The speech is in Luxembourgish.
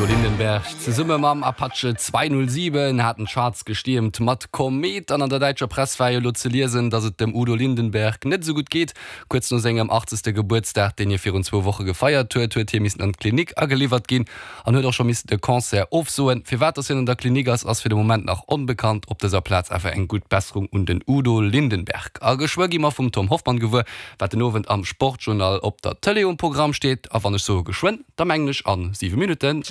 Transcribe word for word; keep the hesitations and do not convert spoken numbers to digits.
Udo Lindenberg zesumme mam Apache zweihunnertsiwen haten d'Charts gestiermt mat Komet. An an der däitscher Press war jo lo ze liesen, dass et dem Udo Lindenberg net sou gutt geet. Kuerz no sengem achtzegste Gebuertsdag, deen hie virun zwou Woche gefeiert huet, huet hie missen an d'Klinik ageliwwert ginn an huet och scho missen de Concert ofsoen. Firwat dass hien an der Klinik ass, ass fir de Moment nach onbekannt. Op dëser Plaz awer eng gutt Besserung un den Udo Lindenberg. A geschwë gi mer vum Tom Hoffmann gewuer, wat den Owend am Sportjournal op der Tëlee um Programm steet. A wann ech soe geschwënn, da mengen ech an siwe Minutten.